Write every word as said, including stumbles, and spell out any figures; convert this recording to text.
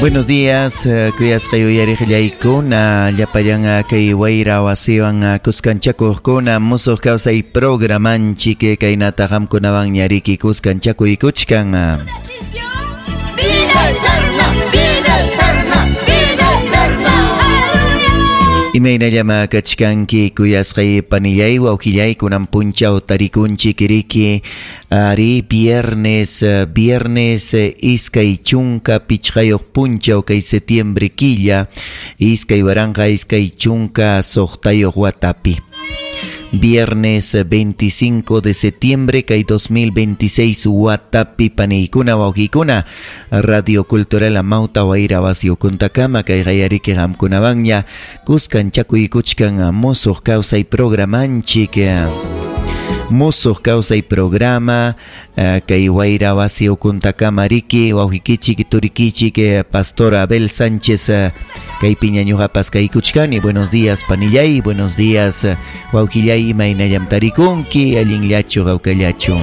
Buenos días, kuyasqay uyariqllaykuna, llapallan kay wayra wasiwan kuskanchakuqkuna, musuq kawsay programanchik kaynata qamkunawan ñariki kuskanchakuykuchkan. Vida eterna, vida eterna, vida eterna. Imaynallama kachkanki kuyasqay panillay wawqillay kunan punchaw tarikunchik riki ari viernes viernes iskay chunka pichqayuq punchaw kay septiembre killa iskay waranqa iskay chunka suqtayuq watapi. Viernes veinticinco de septiembre kay dos mil veintiséis watapi paniykuna wawqikuna Radio Cultural Amauta Wayra wasi ukuntakama kay qayariki qamkunawanña kuskanchakuykuchkan musuq kawsay programanchik. Musuq kawsay programa kay Wayra wasi ukuntakama riki wawqikichik turikichik Pastor Abel Sánchez kay piñañuqapas kaykuchkani. Buenos días panillay, buenos días wawqillay, imaynallam tarikunki, allinllachu hawkallachu.